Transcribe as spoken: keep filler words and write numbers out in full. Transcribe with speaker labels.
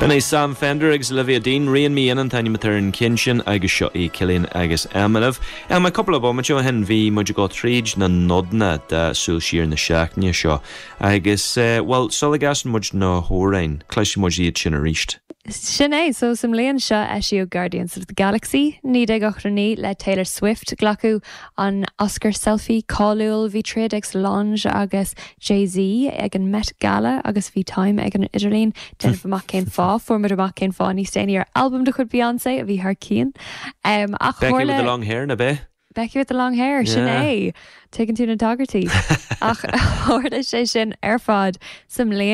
Speaker 1: B'in é Sam Fender agus Olivia Dean Rein Me In an t-ainm ar an gceann sin agus seo í Cillian agus Emma. Am cúpla bomaite ó shin bhí muid ag tríd na nodanna de Súil Siar na seachtaine seo agus uh, well sula gcasann muid na hamhráin, cloisfidh muid iad sin arís.
Speaker 2: Sin é so sa mbliain seo eisíodh Guardians of the Galaxy naoi déag ochtó naoi le Taylor Swift glacadh an Oscar selfie cáiliúil bhí troid ag Solange agus Jay-Z ag an Met Gala agus bhí Time ag an idirlíon déanamh amach cén fáth fuair muid amach cén fáth níos déanaí ar album de chuid Beyoncé a bhí thar cionn. Um, ach
Speaker 1: Becky with the long hair na bé?
Speaker 2: Becky with the long hair sin
Speaker 1: Yeah.
Speaker 2: é tuigeann tú na tagairtí ach tharla sé sin ar fad sa mbliain